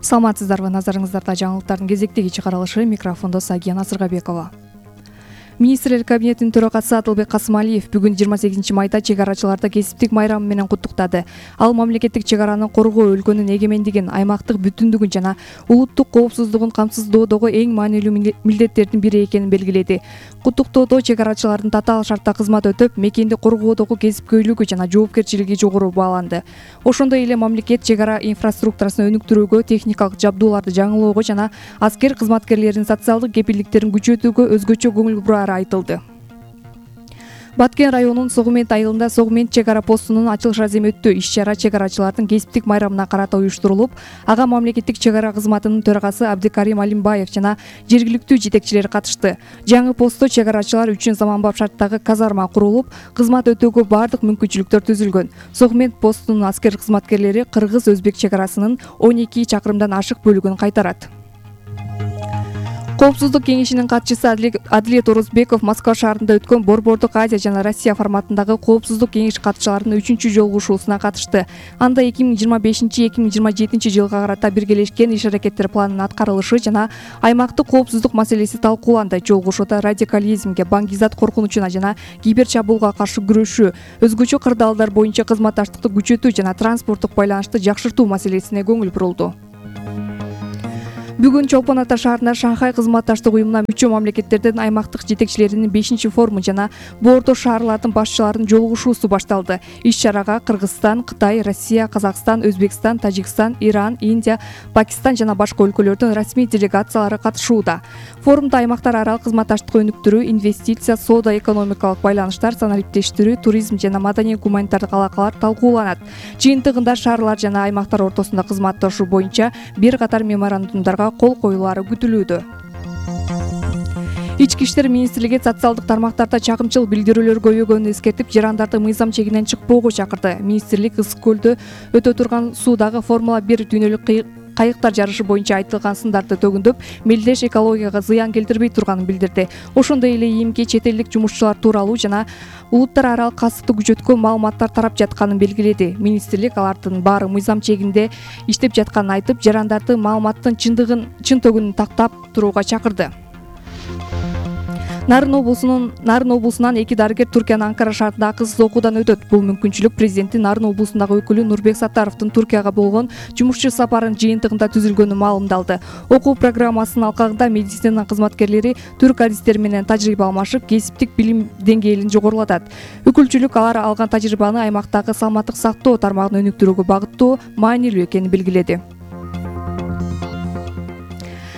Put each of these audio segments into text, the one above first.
Саламатсыздарбы, назарыңыздарда жаңылыктардын кезектеги чыгарылышы, микрофондо Сагия Насыргабекова. Министрлер кабинетинин төрагасы Атылбек Касымалиев бүгүн 28 майда чегарачыларды кесиптик майрамы менен куттуктады. Ал мамлекеттик чегараны коргоо, өлкөнүн эгемендигин, аймактык бүтүндүгүн жана улуттук коопсуздугун камсыздоодогу эң маанилүү милдеттердин бири экенин белгиледи. Куттуктоодо чегарачылардын татаал шартта кызмат өтөп, мекенди коргоодогу кесипкөйлүгү жана жоопкерчилиги жогору бааланды. Ошондой эле мамлекет чегара инфраструктурасын өнүктүрүүгө, техникалык жабдууларды жаңылоого жана аскер кызматкерлеринин социалдык кепилдиктерин күчөтүүгө өзгөчө көңүл бурары айтылды. Баткен районунун Согумент айылында Согумент чегара постунун ачылыш аземи өттү. Иш-чара чегарачылардын кесиптик майрамына карата уюштурулуп, ага мамлекеттик чегара кызматынын төрагасы Абдикарим Алимбаев жана жергиликтүү жетекчилер катышты. Жаңы постто чегарачылар үчүн заманбап шарттагы казарма курулуп, кызмат өтөөгө бардык мүмкүнчүлүктөр түзүлгөн. Согумент постунун аскер кызматкерлери кыргыз-өзбек чегарасынын 12 чакырымдан ашык бөлүгүн кайтарат. Коопсуздук кеңешинин катчысы Адилет Орозбеков Москва шаарында өткөн Борбордук Азия жана Россия форматындагы Коопсуздук кеңеш катчыларынын 3-чү жолугушуусуна катышты. Анда 2025-2027 жылга карата биргелешкен иш-аракеттер планынын аткарылышы жана аймактык коопсуздук маселеси талкууланды. Жолугушууда радикализмге, баңгизат коркунучуна жана киберчабуулга каршы күрөшүү, өзгөчө кырдаалдар боюнча кызматташтыкты күчөтүү жана транспорттук байланышты жакшыртуу маселесине көңүл бурулду. Бүгүн Чолпон Ата шаарында Шанхай кызматташтык уюмуна мүчө мамлекеттердин аймактык жетекчилеринин 5-форуму жана Бордо шаарлардын башчыларынын жолугушуусу башталды. Иш-чарага Кыргызстан, Кытай, Россия, Казакстан, Өзбекстан, Тажикстан, Иран, Индия, Пакистан жана башка өлкөлөрдүн расмий делегациялары катышууда. Форумда аймактар аралык кызматташтыкты өнүктүрүү, инвестиция, соода-экономикалык байланыштар, санариптештирүү, туризм жана маданий-гуманитардык алакалар талкууланат. Жыйынтыгында шаарлар жана аймактар ортосунда кызматташуу боюнча бир катар меморандумдарга кол коюлары күтүлүүдө. Ички иштер министрлиги социалдык тармактарда чагымчыл билдирүүлөр көбөйгөнүн эскертип, жарандарды мыйзам чегинен чыкпоого чакырды. Министрлик Ысык көлдө өтө турган суудагы Формула 1 дүйнөлүк кайыктар жарышы боюнча айтылган сындарды төгүндөп, мелдеш экологияга зыян келтирбей турганын билдирди. Ошондой эле ИИМге чет элдик жумушчулар тууралуу жана улуттар аралык касыпты күчөткөн маалыматтар тарап жатканын белгиледи. Министрлик алардын баары мыйзам чегинде иштеп жатканын айтып, жарандарды маалыматтын чын төгүнүн тактап турууга чакырды. Нарын облусунан 2 дарыгер Туркиянын Анкара шаарында акысыз окуудан өтөт. Бул мүмкүнчүлүк президенттин Нарын облусундагы өкүлү Нурбек Саттаровдун Туркияга болгон жумушчу сапарынын жыйынтыгында түзүлгөнү маалымдалды. Окуу программасынын алкагында медицина кызматкерлери түрк адистери менен тажрыйба алмашып, кесиптик билим деңгээлин жогорулатат. Өкүлчүлүк алар алган тажрыйбаны аймактагы саламаттык сактоо тармагын өнүктүрүүгө багыттоо маанилүү экенин белгиледи.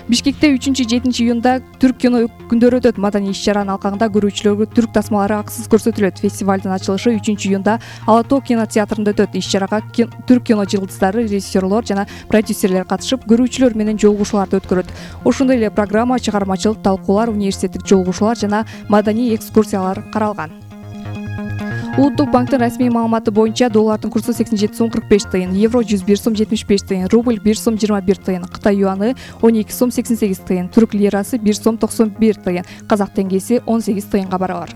Бишкекте 3-7 июнда түрк кино күндөрү өтөт. Маданий иш-чаранын алкагында көрүүчүлөргө түрк тасмалары акысыз көрсөтүлөт. Фестивалдын ачылышы 3 июнда Ала Тоо кинотеатрында өтөт. Иш-чарага түрк кино жылдыздары, режиссерлор жана продюсерлер катышып, көрүүчүлөр менен жолугушууларды өткөрөт. Ошондой эле программа, чыгармачылык талкуулар, университеттик жолугушуулар жана маданий экскурсиялар каралган. Улуттук банктын расмий маалыматы боюнча доллардын курсу 87 сом 45 тыйын, евро 101 сом 75 тыйын, рубль 1 сом 21 тыйын, Кытай юаны 12 сом 88 тыйын, түрк лирасы 1 сом 91 тыйын, казак теңгеси 18 тыйынга барабар.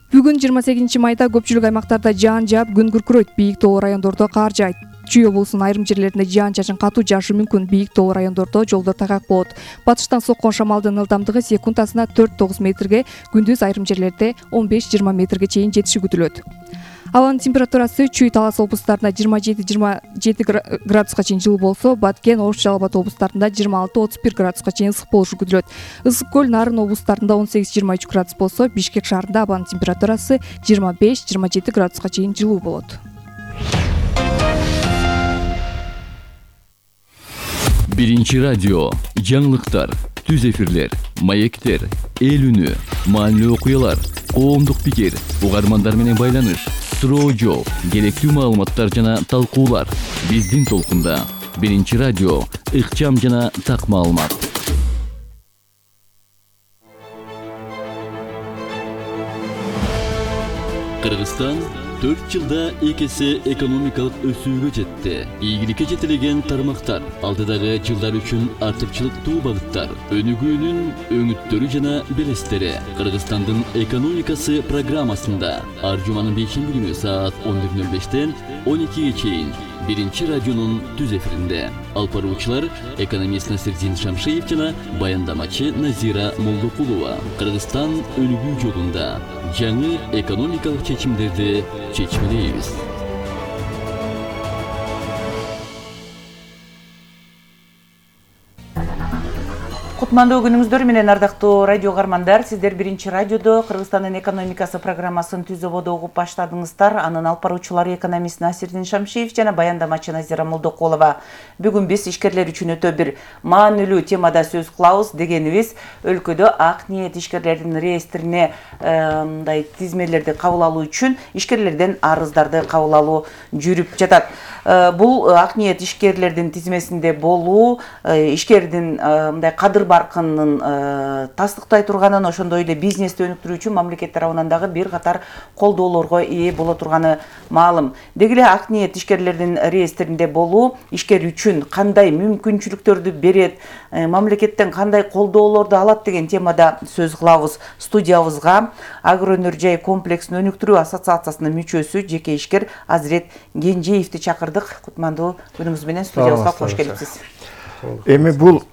Бүгүн 28 майда көпчүлүк аймактарда жаан жаап, күн күркүрөйт, бийик тоолуу райондордо кар жаайт. Чүй облусунун айрым жерлеринде жаан-чачын катуу жаашы мүмкүн, бийик тоолуу райондордо жолдор тайгак болот. Батыштан соккон шамалдын ылдамдыгы секундасына 4-9 метрге, күндүз айрым жерлерде 15-20 метрге чейин жетиши күтүлөт. Абанын температурасы Чүй, Талас облустарында 27-27 градуска чейин жылуу болсо, Баткен, Ош, Жалал Абад облустарында 26-31 градуска чейин ысык болушу күтүлөт. Ысык көл, Нарын облустарында 18-23 градус болсо, Бишкек шаарында абанын температурасы 25-27 градуска чейин жылуу болот. Биринчи радио, жаңылыктар, түз эфирлер, маектер, эл үнү, маанилүү окуялар, коомдук пикир, угармандар менен байланыш, суроо жооп, керектүү маалыматтар жана талкуулар. Биздин толкунда. Биринчи радио, ыкчам жана так маалымат. Кыргызстан 4 жылда 2 эсе экономикалык өсүүгө жетти. Ийгиликке жетилген тармактар, алдыдагы жылдар үчүн артыкчылыктуу багыттар, өнүгүүнүн өңүттөрү жана белестери. Кыргызстандын экономикасы программасында ар жуманын 5-күнү саат 11:05-тен 12-ге чейин Биринчи радионун түз эфиринде алып баруучулар экономист Насирдин Шамшиев жана баяндамачы Назира Молдокулова. Кыргызстан өнүгүү жолунда жаңы экономикалык чечимдерди чечмелейбиз. Кутмандуу күнүңүздөр менен ардактуу радио каармандар, сиздер Биринчи радиодо Кыргызстандын экономикасы программасын түз ободо угуп баштадыңыздар. Анын алып баруучулары экономист Насирдин Шамшиев жана баяндамачы Назира Молдокулова. Бүгүн биз ишкерлер үчүн өтө бир маанилүү темада сөз кылабыз дегенибиз, өлкөдө ак ниет ишкерлердин реестрине мындай тизмелерди кабыл алуу үчүн ишкерлерден арыздарды кабыл алуу жүрүп жатат. Бул ак ниет ишкерлердин тизмесинде болуу, ишкердин мындай кадыр баркынын тастыктай турганын, ошондой эле бизнести өнүктүрүү үчүн мамлекет тарабынан дагы бир катар колдоолорго ээ боло турганы маалым. Деги эле ак ниет ишкерлердин реестринде болуу ишкер үчүн кандай мүмкүнчүлүктөрдү берет, мамлекеттен кандай колдоолорду алат деген темада сөз кылабыз. Студиябызга Агроөнөр жай комплексин өнүктүрүү ассоциациясынын мүчөсү жеке ишкер Азирет Кенжеевди чакырдык. Кутмандуу күнүңүз менен студиябызга кош келипсиз. Эми бул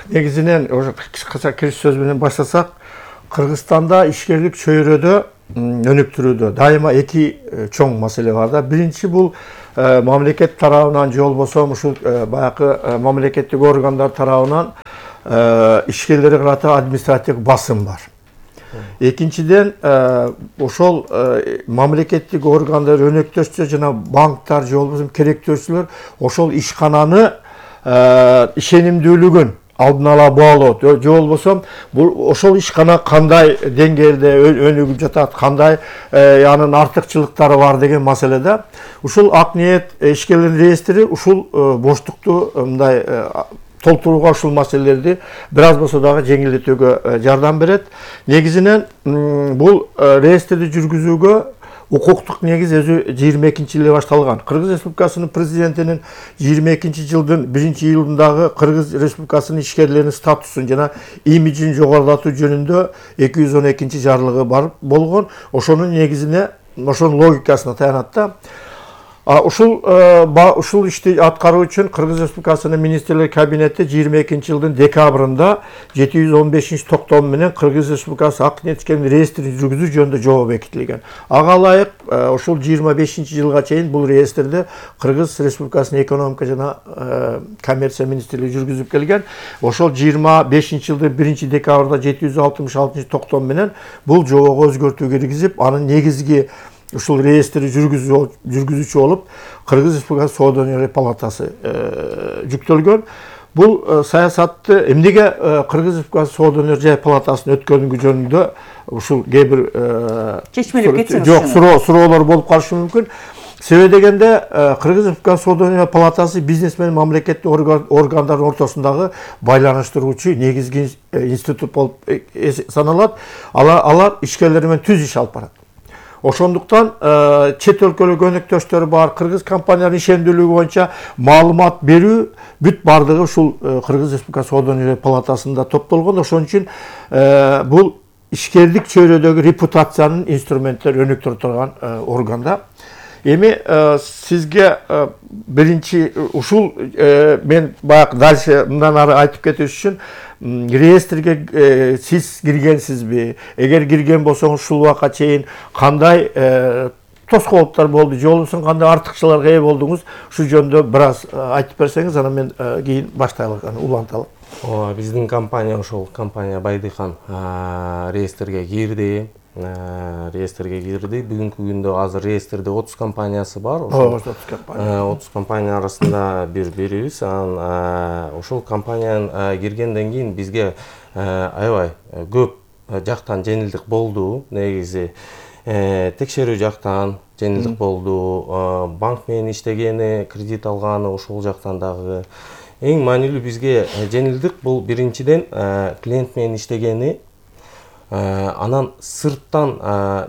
негизинен кыска кириш сөз менен баштасак, Кыргызстанда ишкерлик чөйрөдө өнүктүрүүдө дайыма эки чоң маселе бар да. Биринчи бул мамлекет тарабынан же болбосо ушул баягы мамлекеттик органдар тарабынан ишкерлерге карата административдик басым бар. Экинчиден ошол мамлекеттик органдар өнөктөшчү жана банктар же болбосо керектөөчүлөр ошол ишкананы ишенимдүүлүгүн алдын ала баалоо же болбосо ошол ишкана кандай деңгээлде өнүгүп жатат, кандай анын артыкчылыктары бар деген маселеде ушул ак ниет ишкерлердин реестри ушул боштукту мындай толтурууга ушул маселелерди бир аз болсо дагы жеңилдетүүгө жардам берет. Негизинен бул реестрди жүргүзүүгө укуктук негиз өзү 22-жылы башталган. Кыргыз Республикасынын президентинин 22-жылдын 1-июлундагы Кыргыз Республикасынын ишкерлеринин статусун жана имиджин жогорулатуу жөнүндө 212 жарлыгы бар болгон. Ошонун негизине, ошонун логикасына таянат да. Ушул ишти аткаруу үчүн Кыргыз Республикасынын министрлер кабинети 22-жылдын декабрында 715-токтом менен Кыргыз Республикасы ак ниет ишкерлердин реестрин жүргүзүү жөнүндө жобо бекитилген. Ага ылайык ушул 25-жылга чейин бул реестрди Кыргыз Республикасынын экономика жана коммерция министрлиги жүргүзүп келген. Ошол 25-жылдын 1-декабрда 766-токтом менен бул жобого өзгөртүү киргизип, анын негизги ушул реестри жүргүзүүчү болуп Кыргыз Республикасы Соода өнөр палатасы жүктөлгөн. Бул саясатты эмнеге Кыргыз Республикасы Соода өнөр жай палатасынын өткөнүгү жөнүндө ушул кээ бир чечмелеп кетсеңиз. Жок, суроолор болуп калышы мүмкүн. Себеби дегенде Кыргыз Республикасы Соода өнөр палатасы бизнес менен мамлекеттик органдардын ортосундагы байланыштыруучу негизги институт болуп саналат. Алар ишкерлер менен түз иш алып барат. Ошондуктан чет өлкөлүк өнөктөштөр бар, кыргыз компанияларынын ишендүүлүгү боюнча маалымат берүү бүт бардыгы ушул Кыргыз Республикасы Соода өнөр палатасында топтолгон. Ошон үчүн бул ишкерлик чөйрөдөгү репутациянын инструменттер өнүктүрө турган органда. Эми сизге биринчи ушул мен баягы дальше мындан ары айтып кетиш үчүн реестрге сиз киргенсизби? Эгер кирген болсоңуз ушул убакка чейин кандай тоскоолдуктар болду, же болбосо кандай артыкчылыкка ээ болдуңуз? Ушул жөнүндө бир аз айтып берсеңиз, анан мен кийин баштайлык, уланталы. Биздин компания ошол компания Байдыхан реестрге кирди. Бүгүнкү күндө азыр реестрде 30 компаниясы бар. 30 компания арасында бирибиз. Ошол компаниянын киргенден кийин бизге аябай көп жактан жеңилдик болду. Негизи текшерүү жактан жеңилдик болду. Банк менен иштегени, кредит алганы ошол жактан дагы. Эң маанилүү бизге жеңилдик бул биринчиден клиент менен иштегени. Анан сырттан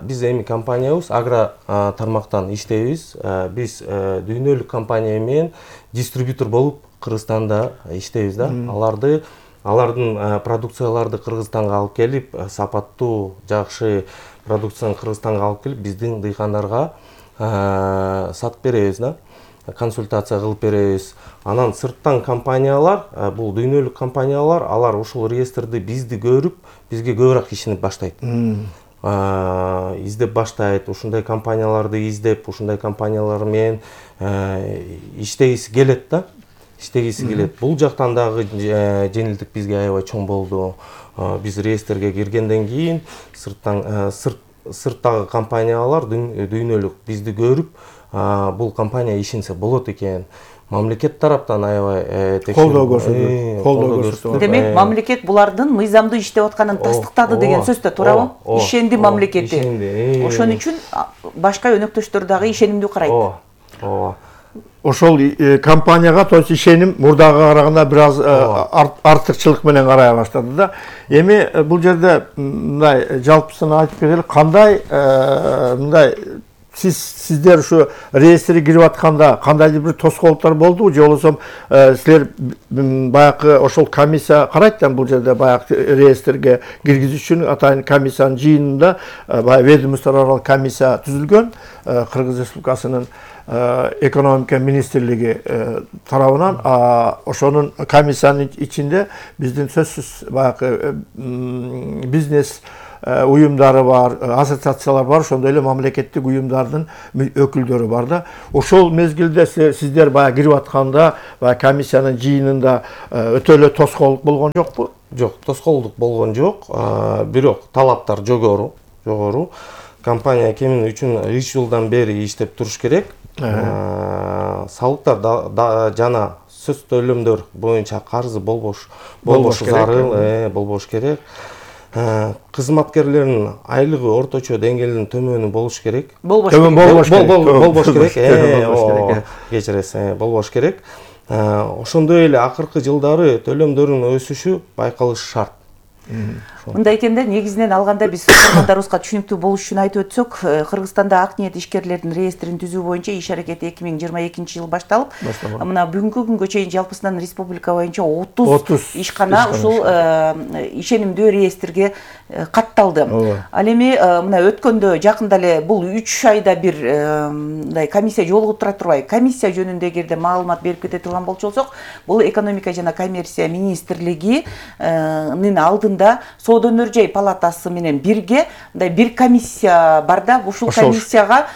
биз эми компаниябыз агро тармактан иштейбиз. Биз дүйнөлүк компания менен дистрибьютор болуп Кыргызстанда иштейбиз да. Алардын продукцияларды Кыргызстанга алып келип, сапаттуу, жакшы продукцияны Кыргызстанга алып келип, биздин дыйкандарга сатып беребиз да, консультация кылып беребиз. Анан сырттан компаниялар, бул дүйнөлүк компаниялар, алар ушул реестрди бизди көрүп, бизге көбүрөөк ишенип баштайт. Издеп баштайт, ушундай компанияларды издеп, ушундай компаниялар менен иштегиси келет да. Бул жактан дагы жеңилдик бизге аябай чоң болду. Биз реестрге киргенден кийин сырттагы компаниялар дүйнөлүк бизди көрүп, бул компания ишенсе болот экен. Мамлекет тараптан аябай колдоо көрсөтүп. Демек, мамлекет булардын мыйзамдуу иштеп атканын тастыктады деген сөз да туурабы? Ишенди мамлекети. Ошон үчүн башка өнөктөштөр дагы ишенимдүү карайт. Ошол компанияга то есть ишеним мурдага караганда бир аз артыкчылык менен карай баштады да. Эми бул жерде мындай жалпысын айтып кетели, кандай мындай сиздер ушу реестрге кирип атканда кандайдыр бир тоскоолдуктар болдубу же болбосо силер баягы ошол комиссия карайт да, бул жерде баягы реестрге киргизүү үчүн атайын комиссиянын жыйынында баягы ведомство аралык комиссия түзүлгөн, Кыргыз Республикасынын экономика министрлиги тарабынан. Ошонун комиссиянын ичинде биздин сөзсүз баягы бизнес уюмдары бар, ассоциациялар бар, ошондой эле мамлекеттик уюмдардын өкүлдөрү бар да. Ошол мезгилде сиздер баягы кирип атканда баягы комиссиянын жыйынында өтө эле тоскоолдук болгон жокпу? Жок, тоскоолдук болгон жок. Бирок талаптар жогору. Компания кемин 3 жылдан бери иштеп туруш керек. Салыктар жана сөз төлөмдөр боюнча карызы болбош зарыл, болбош керек. Кызматкерлердин айлыгы орточо деңгээлдин төмөнү болуш керек. Болбош керек. Ошондой эле акыркы жылдары төлөмдөрдүн өсүшү байкалышы шарт. Мындай экенде, негизинен алганда биз көрөрмандарыбызга түшүнүктүү болуш үчүн айтып өтсөк, Кыргызстанда ак ниет ишкерлердин реестрин түзүү боюнча иш аракети 2022 жылы башталып, мына бүгүнкү күнгө чейин жалпысынан республика боюнча 30 ишкана ушул ишенимдүү реестрге катталды. Ал эми мына өткөндө жакында эле бул 3 айда бир мындай комиссия жолугуп тура турбай, комиссия жөнүндө эгерде маалымат берип кете турган болсок, бул экономика жана коммерция министрлигинин алдында Соода өнөр-жай палатасы менен бирге мындай бир комиссия бар да, ушул комиссияга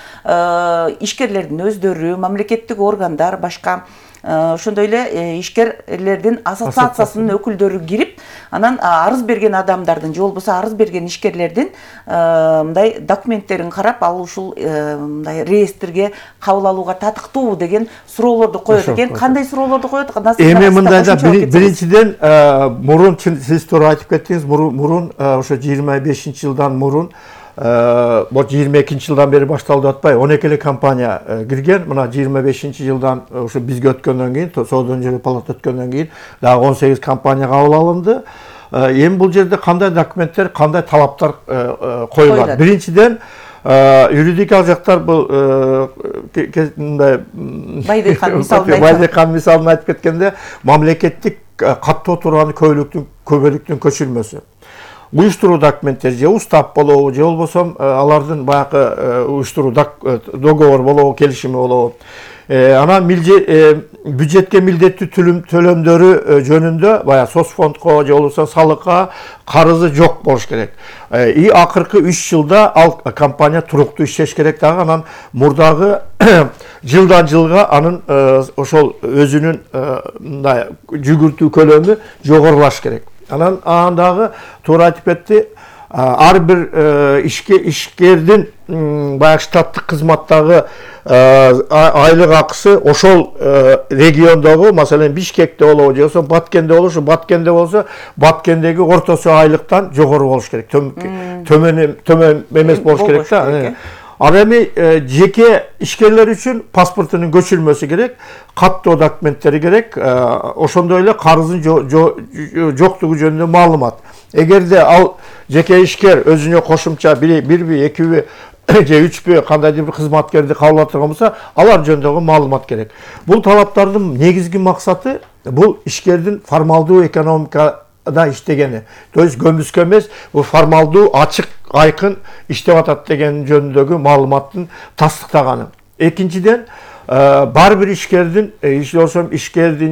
ишкерлердин өздөрү, мамлекеттик органдар, башка ошондой эле ишкерлердин ассоциациясынын өкүлдөрү кирип, анан арыз берген адамдардын же болбосо арыз берген ишкерлердин мындай документтерин карап, ал ушул мындай реестрге кабыл алууга татыктуубу деген суроолорду коет экен. Кандай суроолорду коет? Эми мындайда биринчиден мурун сиз туура айтып кеттиңиз, мурун ошо 25-жылдан мурун 22-жылдан бери башталды атпай, 12 эле компания кирген. Мына 25-жылдан ушу бизге өткөндөн кийин, Соода өнөр палата өткөндөн кийин дагы 18 компания кабыл алынды. Эми бул жерде кандай документтер, кандай талаптар коюлат? Биринчиден юридикалык жактар бул мындай Байдыхан мисалын айтып кеткенде, мамлекеттик каттоо тууралуу көбөлүктүн көчүрмөсү. Уюштуруу документтер же устав болобу, же болбосо алардын баягы уюштуруу договор болобу, келишими болобу. Анан бюджетке милдеттүү төлөмдөрү жөнүндө баягы соцфондко же болбосо салыкка карызы жок болуш керек. Акыркы 3 жылда ал компания туруктуу иштеш керек дагы. Анан мурдагы жылдан жылга анын ошол өзүнүн мындай жүгүртүү көлөмү жогорулаш керек. Анан дагы туура айтып кетти, ар бир ишкердин баягы штаттык кызматтагы айлык акысы ошол региондогу, маселен Бишкекте болобу, же болбосо Баткенде болобу, Баткенде болсо Баткендеги ортосу айлыктан жогору болуш керек. Төмөн эмес болуш керек да. Ал эми жеке ишкерлер үчүн паспортунун көчүрмөсү керек, каттоо документтери керек, ошондой эле карыздын жоктугу жөнүндө маалымат. Эгерде ал жеке ишкер өзүнө кошумча бирби, экиби же үчпү кандайдыр бир кызматкерди кабыл ала турган болсо, алар жөнүндөгү маалымат керек. Бул талаптардын негизги максаты бул ишкердин формалдуу экономикада иштегени. То есть көмүскө эмес, бул формалдуу ачык айкын иштеп атат деген жөнүндөгү маалыматтын тастыктаганы. Экинчиден, бар бир ишкердин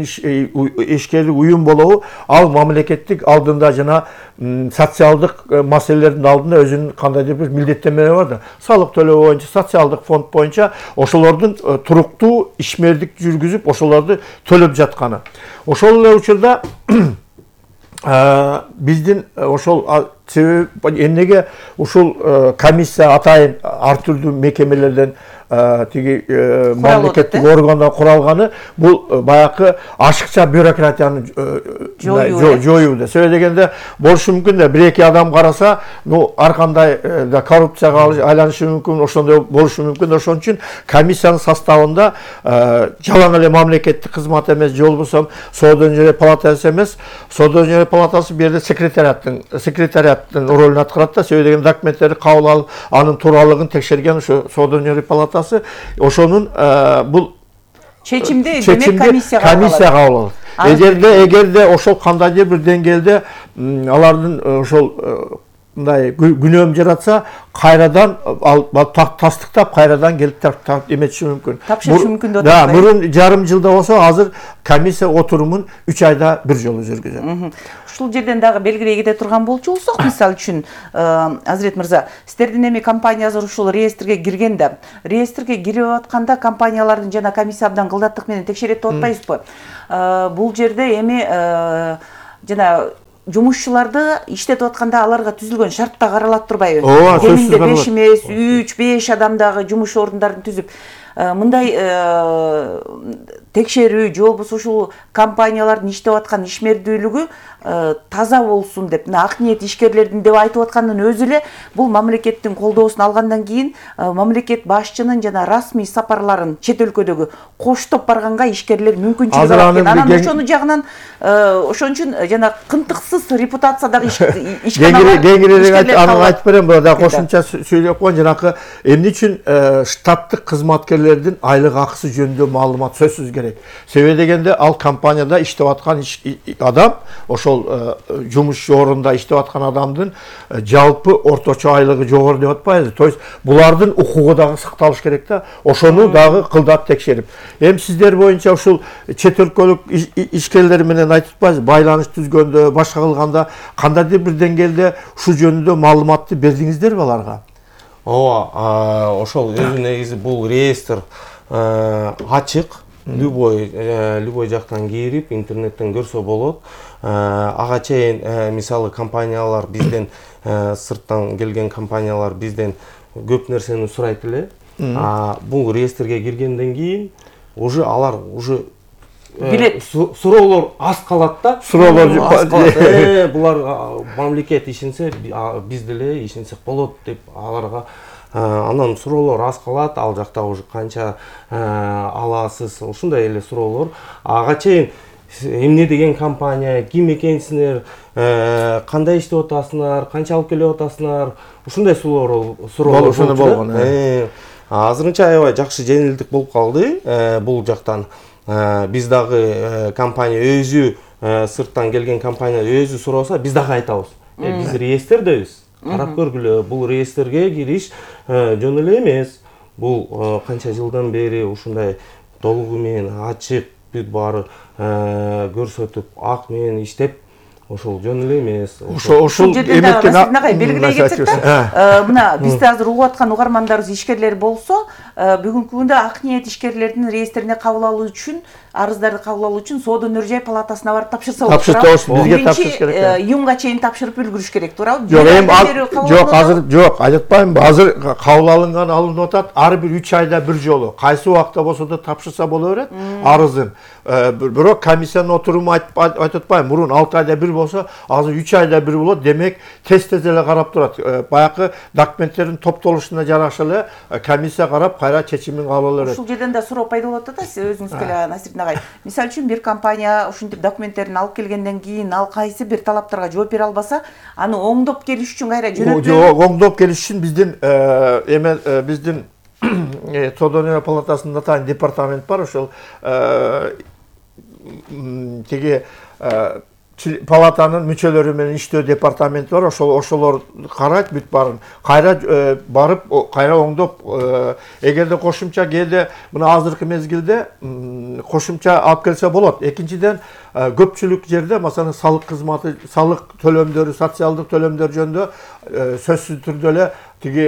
ишкерлик уюм болобу, ал мамлекеттик алдында жана социалдык маселелердин алдында өзүнүн кандайдыр бир милдеттенмелери бар да. Салык төлөө боюнча, социалдык фонд боюнча ошолордун туруктуу ишмердик жүргүзүп, ошолорду төлөп жатканы. Ошол эле учурда биздин ошол себеби эмнеге ушул комиссия атайын ар түрдүү мекемелерден тиги мамлекеттик органдар куралганы бул баягы ашыкча бюрократияны жоюуда. Себеби дегенде болушу мүмкүн да, бир эки адам караса, ар кандай да коррупцияга айланышы мүмкүн, ошондой болушу мүмкүн. Ошон үчүн комиссиянын составында жалаң эле мамлекеттик кызмат эмес, же болбосо соода өнөр палатасы эмес, соода өнөр палатасы бир жерде секретариаттын ролун аткарат да. Себеби дегенде документтерди кабыл алып, анын тууралыгын текшерген ошо соода өнөр палатасы ошонун бул чечимди демек комиссияга кабыл алат. Эгерде ошол кандайдыр бир деңгээлде алардын ошол мындай күнөөм жаратса, кайрадан тастыктап, кайрадан келип эметиши мүмкүн. Тапшырышы мүмкүн деп атат. Мурун жарым жылда болсо, азыр комиссия отурумун 3 айда бир жолу жүргүзөт. Ушул жерден дагы белгилей кете турган болчу болсок, мисалы үчүн, Азирет мырза, сиздердин эми компаниябыз ушул реестрге киргенде, реестрге кирип атканда компаниялардын жана комиссия абдан кылдаттык менен текшерет деп атпайсызбы? Бул жерде эми жана жумушчуларды иштетип атканда аларга түзүлгөн шарт да каралат турбайбы? Кеминде 5 эмес, 3-5 адамдагы жумуш орундарын түзүп, мындай текшерүү же болбосо ушул компаниялардын иштеп аткан ишмердүүлүгү таза болсун деп, ак ниет ишкерлердин деп айтып аткандын өзү эле бул мамлекеттин колдоосун алгандан кийин мамлекет башчынын жана расмий сапарларын чет өлкөдөгү коштоп барганга ишкерлер мүмкүнчүлүк алат экен. Анан ошону жагынан ошон үчүн жана кынтыксыз репутациядагы ишкерлер кеңирээк айтып берем, да кошумча сүйлөп коеюн. Жанакы эмне үчүн штаттык кызматкерлердин айлык акысы жөнүндө маалымат сөзсүз керек. Себеби дегенде ал компанияда иштеп аткан адам, ошол жумуш орунда иштеп аткан адамдын жалпы орточо айлыгы жогору деп атпайбызбы? То есть булардын укугу дагы сакталыш керек да. Ошону дагы кылдап текшерип. Эми сиздер боюнча ушул чет өлкөлүк ишкерлер менен айтып атпайсызбы? Байланыш түзгөндө, башка кылганда кандайдыр бир деңгээлде ушул жөнүндө маалыматты бердиңиздерби аларга? Ооба, ошол өзү негизи бул реестр ачык. Любой жактан кирип, интернеттен көрсө болот. Ага чейин мисалы компаниялар бизден, сырттан келген компаниялар бизден көп нерсени сурайт эле. Бул реестрге киргенден кийин уже алар уже билет, суроолор аз калат да. Суроолор аз калат. Булар мамлекет ишенсе, биз деле ишенсек болот деп аларга анан суроолор аз калат. Ал жакта уже канча аласыз, ушундай эле суроолор. Ага чейин эмне деген компания, ким экенсиңер, кандай иштеп атасыңар, канча алып келип атасыңар, ушундай суроолор болгон. Азырынча аябай жакшы жеңилдик болуп калды бул жактан. Биз дагы компания өзү, сырттан келген компания өзү сураса, биз дагы айтабыз. Биз реестрдебиз. Карап көргүлө, бул реестрге кириш жөн эле эмес. Бул канча жылдан бери ушундай толугу менен ачык бүт баары көрсөтүп, ак менен иштеп, ошол жөн эле эмес. Ошол жерде белгилей кетсек да, мына бизди азыр угуп аткан угармандарыбыз ишкерлер болсо, бүгүнкү күндө ак ниет ишкерлердин реестрине кабыл алуу үчүн, арыздарды кабыл алуу үчүн соода өнөр жай палатасына барып тапшырса болот. Бизге тапшырыш керек. Июнга чейин тапшырып үлгүрүш керек, туурабы? Жок, айтпаймынбы, азыр кабыл алынып атат, ар бир 3 айда бир жолу. Кайсы убакта болсо да тапшырса боло берет арызын. Бирок комиссиянын отуруму айтып атпайм, мурун 6 айда бир болсо, азыр 3 айда бир болот. Демек, тез-тез эле карап турат. Баягы документтердин топтолушуна жараша эле комиссия карап, кайра чечимин кабыл ала берет. Ушул жерден да суроо пайда болот да, сиз өзүңүз келе Насирдин агай. Мисалы үчүн бир компания ушинтип документтерин алып келгенден кийин ал кайсы бир талаптарга жооп бере албаса, аны оңдоп келиш үчүн кайра жөнөтүлөт. Оңдоп келиш үчүн биздин соода өнөр палатасында атайын департамент бар, ошол тиги палатанын мүчөлөрү менен иштөө департаменти бар, ошолор карайт бүт барын. Кайра барып, кайра оңдоп, эгерде кошумча кээде мына азыркы мезгилде кошумча алып келсе болот. Экинчиден, көпчүлүк жерде, маселен, салык кызматы, салык төлөмдөрү, социалдык төлөмдөр жөнүндө сөзсүз түрдө эле тиги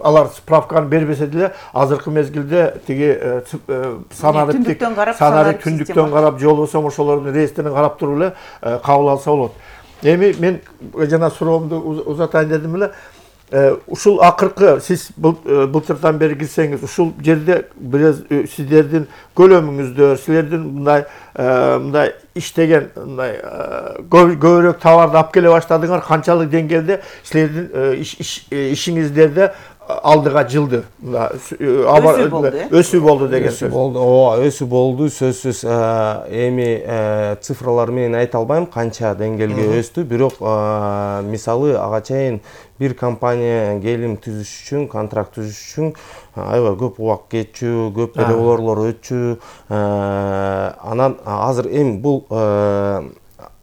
алар справканы бербесе деле азыркы мезгилде тиги санарип түндүктөн карап же болбосо ошолордун реестрин карап туруп эле кабыл алса болот. Эми мен жана суроомду узатайын дедим эле. Ушул акыркы сиз былтырдан бери кирсеңиз, ушул жерде бираз сиздердин көлөмүңүздө, силердин мындай иштеген мындай көбүрөөк товарды алып келе баштадыңар, канчалык деңгээлде силердин ишиңиздерде алдыга жылды, өсүү болду деген сөз. Ооба, өсүү болду, сөзсүз. Эми цифралар менен айта албайм канча деңгээлге өстү, бирок мисалы ага чейин бир компания келим түзүш үчүн, контракт түзүш үчүн аябай көп убакыт кетчү, көп переговорлор өтчү. Анан азыр эми бул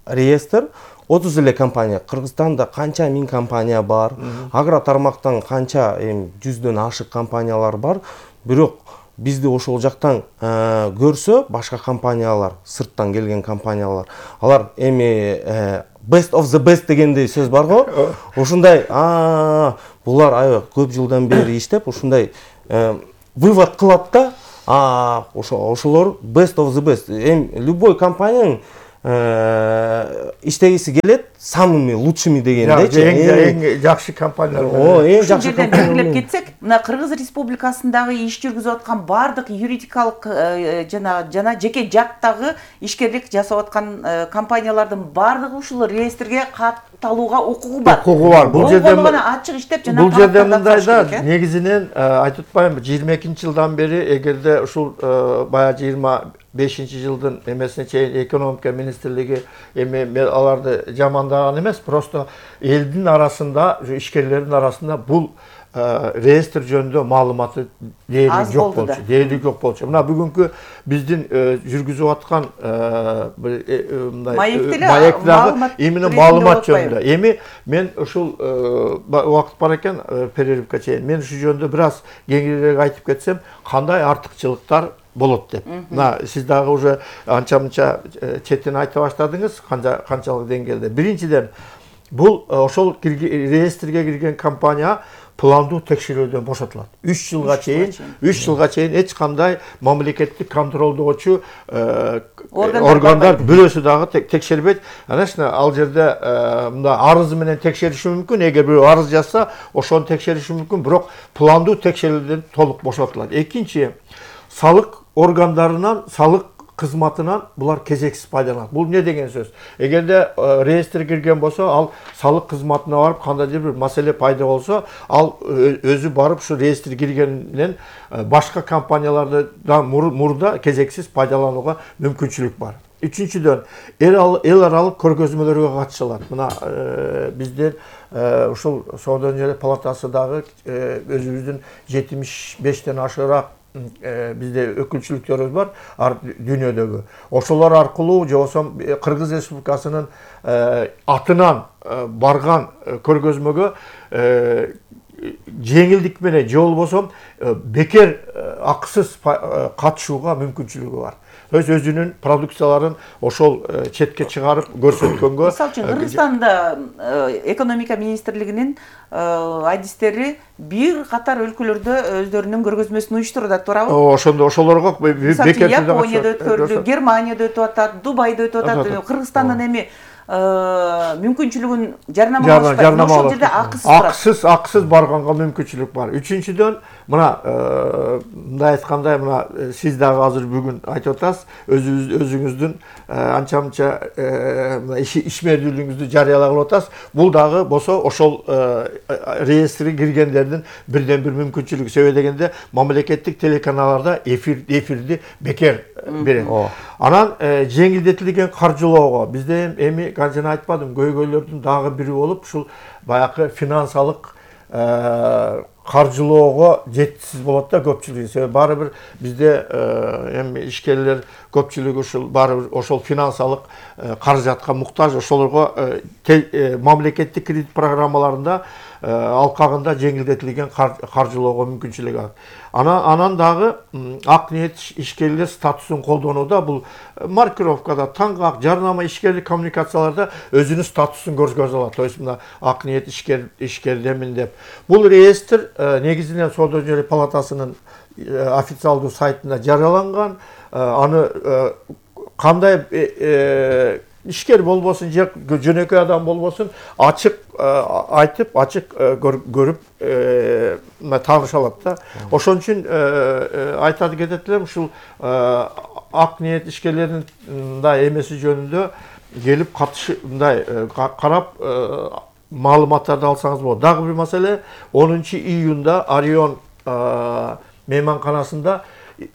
реестр 30 эле компания. Кыргызстанда канча миң компания бар, агро тармактан канча жүздөн ашык компаниялар бар. Бирок бизди ошол жактан көрсө, башка компаниялар, сырттан келген компаниялар, алар эми best of the best дегендей сөз бар го. Ошундай, булар аябай көп жылдан бери иштеп, ушундай вывод кылат да, ошолор best of the best. Любой компаниянын иштегиси келет самыми лучшими дегендейчи. Эң жакшы компаниялар. Эң жакшы компаниялар. Белгилеп кетсек, мына Кыргыз Республикасындагы иш жүргүзүп аткан бардык юридикалык жана жеке жактагы ишкерлик жасап аткан компаниялардын бардыгы ушул реестрге катталууга укугу бар. Бул жерде ачык иштеп жана бул жерде мындай да, негизинен айтып атпаймынбы, 22-жылдан бери эгерде ушул баягы 25-жылдын эмесине чейин экономика министрлиги аларды жамандаган эмес, просто элдин арасында, ишкерлердин арасында бул реестр жөнүндө маалыматы дээрлик жок болчу. Мына бүгүнкү биздин жүргүзүп аткан маектеги именно маалымат жөнүндө. Эми мен ушул убакыт бар экен, перерывка чейин мен ушул жөнүндө бир аз кеңирээк айтып кетсем, кандай артыкчылыктар болот деп. Мына сиз дагы уже анча-мынча четин айта баштадыңыз, канчалык деңгээлде. Биринчиден, бул ошол реестрге кирген компания пландуу текшерүүдөн бошотулат. 3 жылга чейин эч кандай мамлекеттик контролдоочу органдар бирөөсү дагы текшербейт. Анашна ал жерде мында арыз менен текшериши мүмкүн, эгер бирөө арыз жазса, ошону текшериши мүмкүн, бирок пландуу текшерүүдөн толук бошотулат. Экинчи, салык органдарынан, салык кызматынан булар кезексиз пайдаланат. Бул не деген сөз? Эгерде реестр кирген болсо, ал салык кызматына барып, кандайдыр бир маселе пайда болсо, ал өзү барып ушу реестр киргенден башка компаниялардан мурда кезексиз пайдаланууга мүмкүнчүлүк бар. Үчүнчүдөн, эл аралык көргөзмөлөргө катыша алат. Мына бизден ушул Соода жана палатасы дагы өзүбүздүн 75тен ашыраак бизде өкүлчүлүктөрүбүз бар дүйнөдөгү. Ошолор аркылуу же болбосо Кыргыз Республикасынын атынан барган көргөзмөгө жеңилдик менен же болбосо бекер акысыз катышууга мүмкүнчүлүгү бар. Өзүнүн продукцияларын ошол четке чыгарып көрсөткөнгө. Мисалы үчүн Кыргызстанда экономика министрлигинин адистери бир катар өлкөлөрдө өздөрүнүн көргөзмөсүн уюштурат, туурабы? Ошолорго бекер Японияда өткөрүлдү, Германияда өтүп атат, Дубайда өтүп атат. Кыргызстандын эми мүмкүнчүлүгүн жарнамалашпайт. Ошол жерде акысыз барганга мүмкүнчүлүк бар. Үчүнчүдөн, мына мындай айткандай, мына сиз дагы азыр бүгүн айтып атасыз, өзүңүздүн анча-мынча ишмердүүлүгүңүздү жарыялагып атасыз. Бул дагы болсо ошол реестрге киргендердин бирден бир мүмкүнчүлүгү. Себеби дегенде мамлекеттик телеканалдарда эфирди бекер берет. Анан жеңилдетилген каржылоого бизде эми жана айтпадым, көйгөйлөрдүн дагы бири болуп, ушул баягы финансалык каржылоого жетишсиз болот да көпчүлүгү. Себеби баары бир бизде эми ишкерлер көпчүлүгү ушул баары бир ошол финансылык каражатка муктаж, ошолорго мамлекеттик кредит программаларында алкагында жеңилдетилген каржылоого мүмкүнчүлүк бар. Анан дагы ак ниет ишкерлер статусун колдонууда бул маркировкада, таңгак, жарнама, ишкерлик коммуникацияларда өзүнүн статусун көрсөтө алат. То есть мына ак ниет ишкердемин деп. Бул реестр негизинен Соода жөнөкөй палатасынын официалдуу сайтында жарыяланган. Аны кандай ишкер болбосун же жөнөкөй адам болбосун ачык айтып, ачык көрүп тааныша алат да. Ошон үчүн айтады кетет элем, ушул ак ниет ишкерлердин мындай эмеси жөнүндө келип мындай карап маалыматтарды алсаңыз болот. Дагы бир маселе, 10-июнда Орион мейманканасында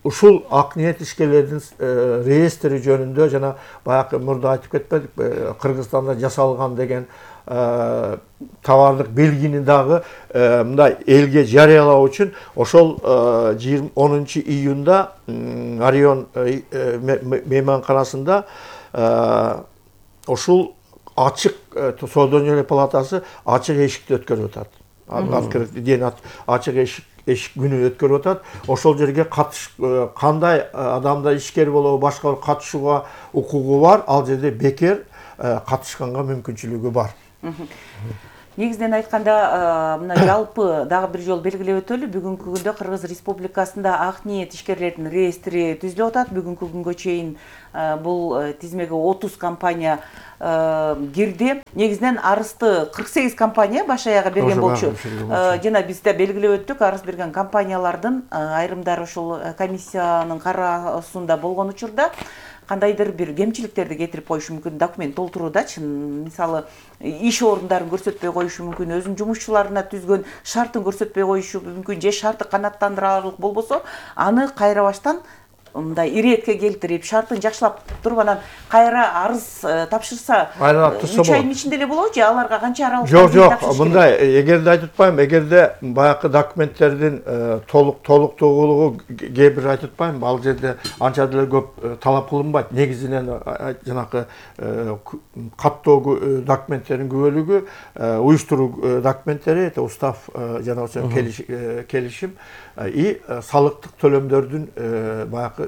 ушул ак ниет ишкерлердин реестри жөнүндө жана баягы мурда айтып кетпедик, Кыргызстанда жасалган деген товарлык белгини дагы мындай элге жарыялоо үчүн ошол 10-июнда Орион мейманканасында ушул ачык Соода жөнөкөй палатасы ачык эшикти өткөрүп атат. Ачык эшик күнү өткөрүп атат. Ошол жерге кандай адамда ишкер болобу, башка катышууга укугу бар, ал жерде бекер катышканга мүмкүнчүлүгү бар. Негизинен айтканда, мына жалпы дагы бир жолу белгилеп өтөлү, бүгүнкү күндө Кыргыз Республикасында ак ниет ишкерлердин реестри түзүлүп атат. Бүгүнкү күнгө чейин бул тизмеге 30 компания кирди. Негизинен арызды 48 компания баш аягы берген болчу. Жана бизде белгилеп өттүк, арыз берген компаниялардын айрымдары ушул комиссиянын кароосунда болгон учурда кандайдыр бир кемчиликтерди кетирип коюшу мүмкүн, документ толтуруудачы, мисалы иш орундарын көрсөтпөй коюшу мүмкүн, өзүнүн жумушчуларына түзгөн шартын көрсөтпөй коюшу мүмкүн, же шарты канааттандырарлык болбосо, аны кайра баштан мындай иретке келтирип, шартын жакшылап туруп, анан кайра арыз тапшырса, 3 айдын ичинде эле болобу же аларга канча аралыкта? Жок, мындай, эгерде айтып атпайм, эгерде баягы документтердин толуктуулугу кээ бир айтып атпайм, ал жерде анча деле көп талап кылынбайт. Негизинен жанакы каттоо документтердин күбөлүгү, уюштуруу документтери, устав жана ошол келишим и салыктык төлөмдөрдүн баягы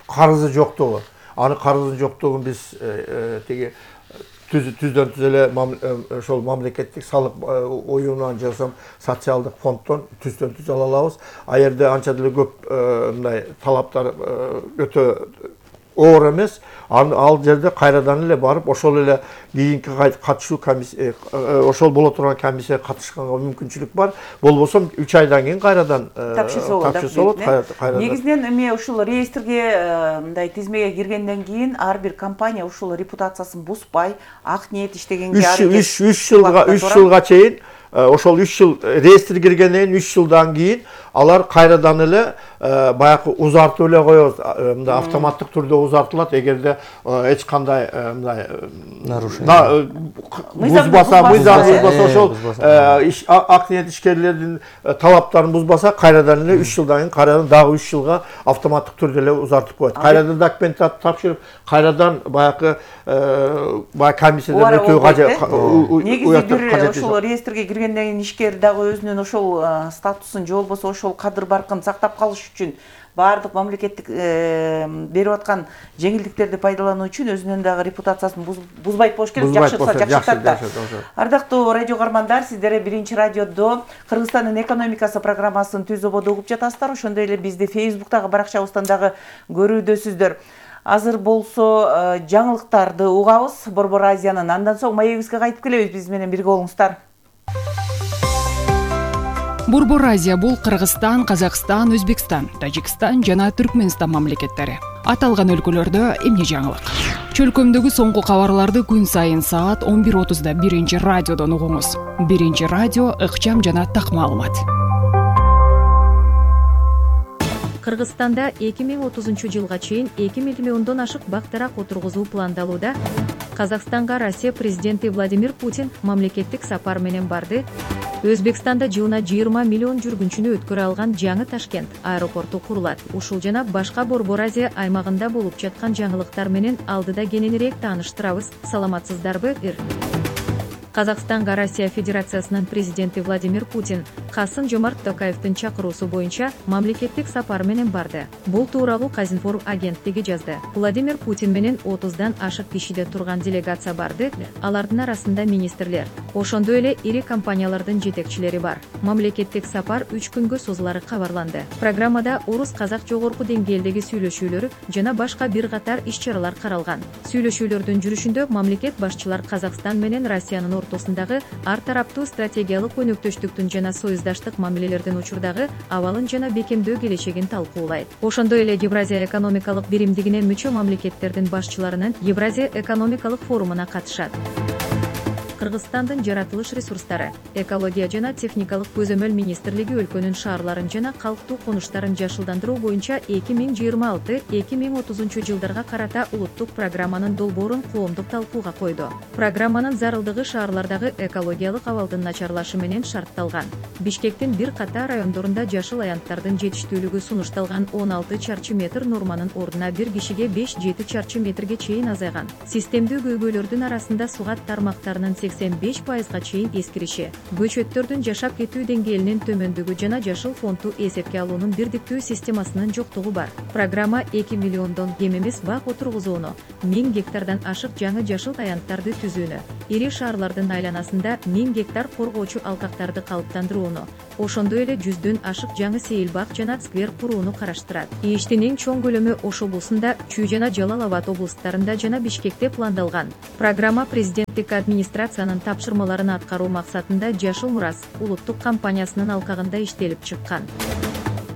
карызы жоктугу. Аны карыздын жоктугун биз тиги түздөн түз эле ошол мамлекеттик салык оюнунан же социалдык фонддон түздөн түз ала алабыз. А жерде анча деле көп мындай талаптар өтө оор эмес. Ал жерде кайрадан эле барып, ошол эле кийинки катышуу комиссия, ошол боло турган комиссияга катышканга мүмкүнчүлүк бар. Болбосо 3 айдан кийин кайрадан тапшырса болот. Негизинен эми ушул реестрге мындай тизмеге киргенден кийин ар бир компания ушул репутациясын бузбай, ак ниет иштегенге 3 жылга чейин, ошол 3 жыл реестр киргенден кийин 3 жылдан кийин алар кайрадан эле баягы узартып эле коебуз. Мындай автоматтык түрдө узартылат, эгерде эч кандай мындай нарушение бузбаса, ошол ак ниет ишкерлердин талаптарын бузбаса, кайрадан эле 3 жылдан кийин кайрадан дагы 3 жылга автоматтык түрдө эле узартып коет. Кайрадан документ тапшырып, кайрадан баягы комиссиядан өтүү кажет. Негизи бир ошол реестрге киргенден кийин ишкер дагы өзүнүн ошол статусун же болбосо ошол кадыр баркын сактап калыш үчүн баардык мамлекеттик берип аткан жеңилдиктерди пайдалануу үчүн өзүнүн дагы репутациясын бузбайт болуш керек, жакшырса жакшыртат да. Ардактуу радио каармандар, сиздер Биринчи радиодо Кыргызстандын экономикасы программасын Түз ободо угуп жатасыздар. Ошондой эле бизди Facebook'тагы баракчабыздан дагы көрүүдөсүздөр. Азыр болсо жаңылыктарды угабыз Борбор Азиянын. Андан соң маегибизге кайтып келебиз. Биз менен бирге болуңуздар. Борбор Азия бул Кыргызстан, Казакстан, Өзбекстан, Тажикстан жана Түркмөнстан мамлекеттери. Аталган өлкөлөрдө эмне жаңылык? Чөлкөмдөгү соңку кабарларды күн сайын саат 11:30да Биринчи радиодон угуңуз. Биринчи радио ыкчам жана так маалымат. Кыргызстанда 2030 жылга чейин 2 миллиондон ашык бак-дарак отургузуу пландалууда. Казакстанга Россия президенти Владимир Путин мамлекеттик сапар менен барды. Өзбекстанда жылына 20 миллион жүргүнчүнү өткөрө алган жаңы Ташкент аэропорту курулат. Ушул жана башка Борбор Азия аймагында болуп жаткан жаңылыктар менен алдыда кененирээк тааныштырабыз. Саламатсыздарбы? Казакстанга Россия Федерациясынын президенти Владимир Путин Касым-Жомарт Токаевдин чакыруусу боюнча мамлекеттик сапар менен барды. Бул тууралуу Казинформ агенттиги жазды. Владимир Путин менен 30дан ашык кишиде турган делегация барды. Алардын арасында министрлер, ошондой эле ири компаниялардын жетекчилери бар. Мамлекеттик сапар 3 күнгө созулары кабарланды. Программада орус-казак жогорку деңгээлдеги сүйлөшүүлөр жана башка бир катар иш-чаралар каралган. Сүйлөшүүлөрдүн жүрүшүндө мамлекет башчылар Казакстан менен Россиянын ортосундагы ар тараптуу стратегиялык өнөктөштүктүн жана союздаштык мамилелердин учурдагы абалын жана бекемдөө келечегин талкуулайт. Ошондой эле Евразия экономикалык биримдигине мүчө мамлекеттердин башчыларынын Евразия экономикалык форумуна катышат. Кыргызстандын жаратылыш ресурстары, экология жана техникалык көзөмөл министрлиги өлкөнүн шаарларын жана калктуу конуштарын жашылдандыруу боюнча 2026-2030 жылдарга карата улуттук программанын долбоорун коомдук талкууга койду. Программанын зарылдыгы шаарлардагы экологиялык абалдын начарлашы менен шартталган. Бишкектин бир катар райондорунда жашыл аянттардын жетиштүүлүгү сунушталган 16 чарчы метр норманын ордуна бир кишиге 5-7 чарчы метрге чейин азайган. Системдүү көйгөйлөрдүн арасында сугат тармактарынын 85%га чейин эскириши, көчөттөрдүн жашап кетүү деңгээлинин төмөндүгү жана жашыл фонду эсепке алуунун бирдиктүү системасынын жоктугу бар. Программа 2 миллиондон кем эмес бак отургузууну, 1000 гектардан ашык жаңы жашыл аянттарды түзүүнү, ири шаарлардын айланасында 1000 гектар коргоочу алкактарды калыптандырууну, ошондой эле 100дөн ашык жаңы сейилбак жана сквер курууну караштырат. Иштин эң чоң көлөмү Ош облусунда, Чүй жана Жалал Абад облустарында жана Бишкекте пландалган. Программа президенттик администрациянын тапшырмаларын аткаруу максатында Жашыл Мурас улуттук компаниясынын алкагында иштелип чыккан.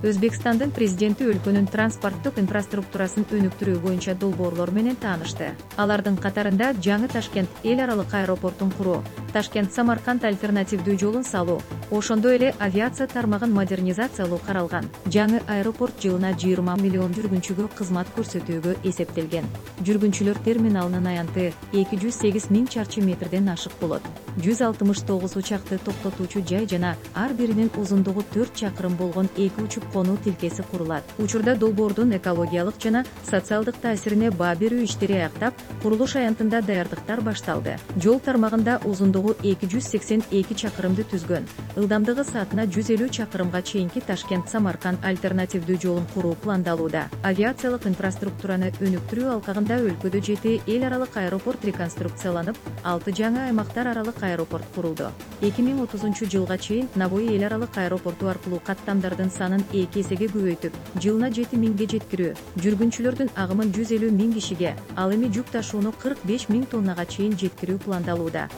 Өзбекстандын президенти өлкөнүн транспорттук инфраструктурасын өнүктүрүү боюнча долбоорлор менен таанышты. Алардын катарында жаңы Ташкент эл аралык аэропортун куруу, Ташкент-Самарканд альтернативдүү жолун салуу, ошондой эле авиация тармагын модернизациялоо каралган. Жаңы аэропорт жылына 20 миллион жүргүнчүгө кызмат көрсөтүүгө эсептелген. Жүргүнчүлөр терминалынын аянты 208 000 чарчы метрден ашык болот. 169 учакты токтотуучу жай жана ар биринин узундугу 4 чакырым болгон 2 учуп конуу тилкеси курулат. Учурда долбоордун экологиялык жана социалдык таасирине баа берүү иштери аяктап, курулуш аянтында даярдыктар башталды. Жол тармагында узундугу 282 чакырымды түзгөн. Ылдамдыгы саатына 150 чакырымга чейинки Ташкент-Самарканд альтернативдүү жолун куруу пландалууда. Авиациялык инфраструктураны өнүктүрүү алкагында өлкөдө 7 эл аралык аэропорт реконструкцияланып, 6 жаңы аймактар аралык аэропорт курулду. 2030 жылга чейин Набой эл аралык аэропорту аркылуу каттамдардын санын 2 эсеге көбөйтүп, жылына 7000ге жеткирүү, жүргүнчүлөрдүн агымын 150 000 кишиге, ал эми жүк ташууну 45 000 тоннага чейин жеткирүү пландалууда.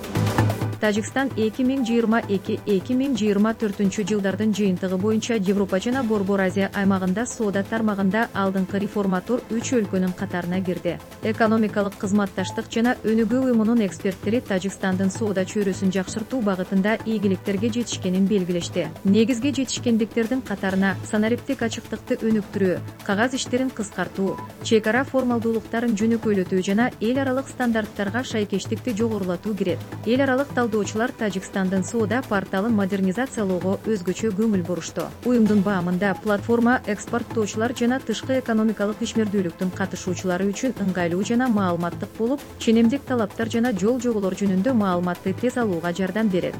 Тажикстан 2022-2024 жылдардын жыйынтыгы боюнча Европа жана Борбор Азия аймагында соода тармагында алдыңкы реформатор 3 өлкөнүн катарына кирди. Экономикалык кызматташтык жана өнүгүү уюмунун эксперттери Тажикстандын соода чөйрөсүн жакшыртуу багытында ийгиликтерге жетишкенин белгилешти. Негизги жетишкендиктердин катарына санариптик ачыктыкты өнүктүрүү, кагаз иштерин кыскартуу, чек ара формалдуулуктарын жөнөкөйлөтүү жана эл аралык стандарттарга шайкештикти жогорулатуу кирет. Эл аралык талдоочулар Тажикстандын соода порталын модернизациялоого өзгөчө көңүл бурушту. Уюмдун баамында платформа экспорттоочулар жана тышкы экономикалык ишмердүүлүктүн катышуучулары үчүн ыңгайлуу жана маалыматтык болуп, ченемдик талаптар жана жол жоболор жөнүндө маалыматты тез алууга жардам берет.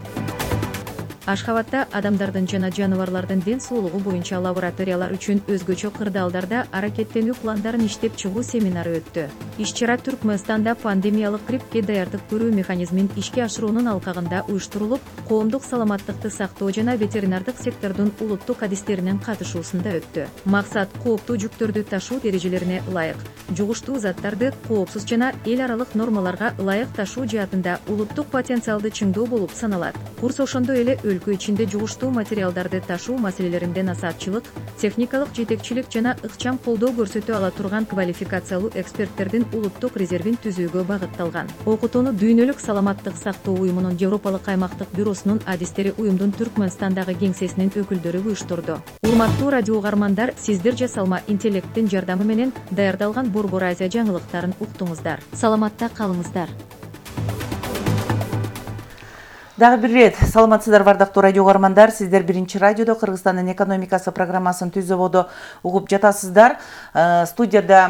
Ашхабадда адамдардын жана жаныбарлардын ден соолугу боюнча лабораториялар үчүн өзгөчө кырдаалдарда аракеттенүү пландарын иштеп чыгуу семинары өттү. Иш-чара Түркмөнстанда пандемиялык гриппке даярдык көрүү механизмин ишке ашыруунун алкагында уюштурулуп, коомдук саламаттыкты сактоо жана ветеринардык сектордун улуттук адистеринин катышуусунда өттү. Максат кооптуу жүктөрдү ташуу эрежелерине ылайык, жугуштуу заттарды коопсуз жана эл аралык нормаларга ылайык ташуу жаатында улуттук потенциалды чыңдоо болуп саналат. Курс ошондой эле өлкө ичинде жугуштуу материалдарды ташуу маселелеринде насаатчылык, техникалык жетекчилик жана ыкчам колдоо көрсөтө ала турган квалификациялуу эксперттердин улуттук резервин түзүүгө багытталган. Окутууну Дүйнөлүк саламаттык сактоо уюмунун Европалык аймактык бюросунун адистери уюмдун Түркмөнстандагы кеңсесинин өкүлдөрү уюштурду. Урматтуу радио угармандар, сиздер жасалма интеллекттин жардамы менен даярдалган Борбор Азия жаңылыктарын уктуңуздар. Саламатта калыңыздар. Дагы бир ирет саламатсыздарбы ардактуу радио угармандар. Сиздер Биринчи радиодо Кыргызстандын экономикасы программасын Түз ободо угуп жатасыздар. Студияда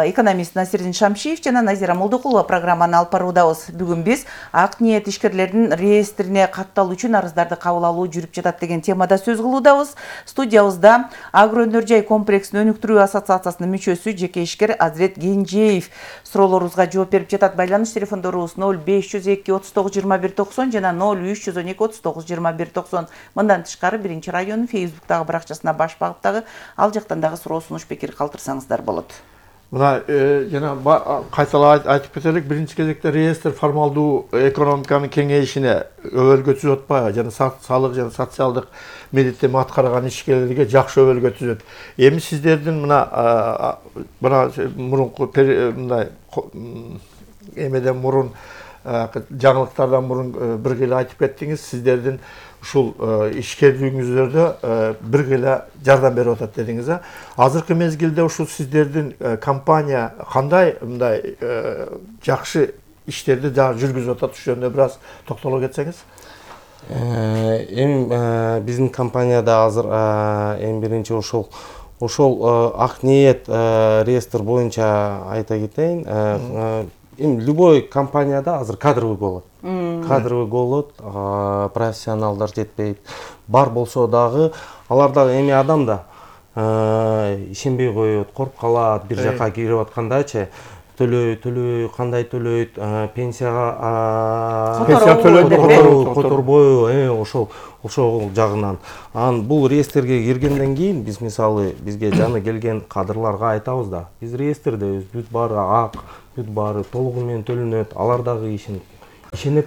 экономист Насирдин Шамшиев жана Назира Молдокулова программаны алып баруудабыз. Бүгүн биз ак ниет ишкерлердин реестрине катталуу үчүн арыздарды кабыл алуу жүрүп жатат деген темада сөз кылуудабыз. Студиябызда Агро өнөр жай комплексин өнүктүрүү ассоциациясынын мүчөсү жеке ишкер Азирет Генжеев суроолорубузга жооп берип жатат. Байланыш телефондорубуз 0502 39 21 90 жана 0312 39 21 90. Мындан тышкары Биринчи радионун Фейсбуктагы баракчасына баш багыптагы ал жактан дагы суроо сунуш пикир калтырсаңыздар болот. Мына жана кайталап айтып кетелик, биринчи кезекте реестр формалдуу экономиканын кеңейишине өбөлгө түзөт атпайбы, жана салык жана социалдык милдеттерин аткарган ишкерлерге жакшы өбөлгө түзөт. Эми сиздердин мына мурунку мындай эмеден мурун жаңылыктардан мурун бир келе айтып кеттиңиз, сиздердин ушул ишкерлигиңиздөрдө бир келе жардам берип атат дедиңиз. Азыркы мезгилде ушул сиздердин компания кандай мындай жакшы иштерди жүргүзүп атат, ушул жөнүндө бир аз токтоло кетсеңиз. Эми биздин компанияда азыр эң биринчи ошол ак ниет реестр боюнча айта кетейин. Эми любой компанияда азыр кадровый болот. Кадровый болот, профессионалдар жетпейт. Бар болсо дагы алар дагы эми адам да ишенбей коет, коркуп калат, бир жака кирип аткандачы төлөй, кандай төлөйт, пенсияга которбойбу, ошол жагынан. Бул реестрге киргенден кийин биз мисалы бизге жаны келген кадрларга айтабыз да. Биз реестрдебиз, бүт баары ак, бүт баары толугу менен төлөнөт, алар дагы ишенет